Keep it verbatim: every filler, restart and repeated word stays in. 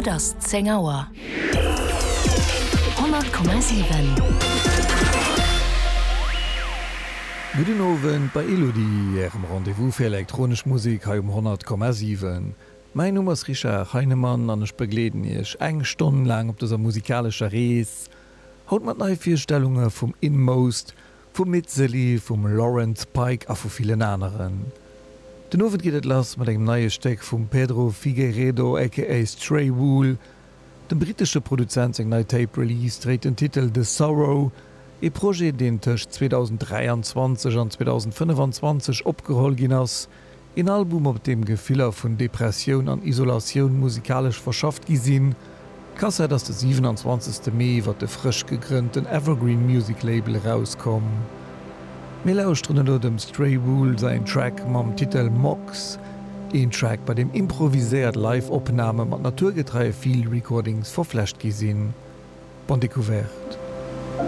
Et ass zéng Auer. Honnert Komma siwen. Gudden Owend bei Elodie, Ärem Rendez-vous fir elektronesch Musek hei um honnert Komma siwen. Mäin Numm ass Richard Heinemann an ech begleeden Iech eng Stonn laang op dëser musikalescher Rees. Haut mat Neivirstellunge vum Inmost, vum Mitzeli, vum Lawrence Pike a vu villen aneren. Den Owend geet et lass mat engem neie Stéck vum Pedro Figueiredo aka Stray Wool. Dem brittesche Produzent seng nei Tape Release dréit den Titel The Sorrow, ee Projet deen tëscht zweedausend dräianzwanzeg an zweedausend fënnefanzwanzeg opgeholl ginn ass, een Album op deem Gefiller vun Depressioun an Isolatioun musikalesch verschafft gi sinn. D'Kassett ass de siwenanzwanzegste Mee iwwer de frësch gegrënnten Evergreen Music Label erauskomm. Mir lauschteren elo dem Stray Wool säin Track mam Titel Mox, een Track bei deem improviséiert Live-Opname mat naturgetreie Field Recordings verflecht gi sinn. Bonne découverte.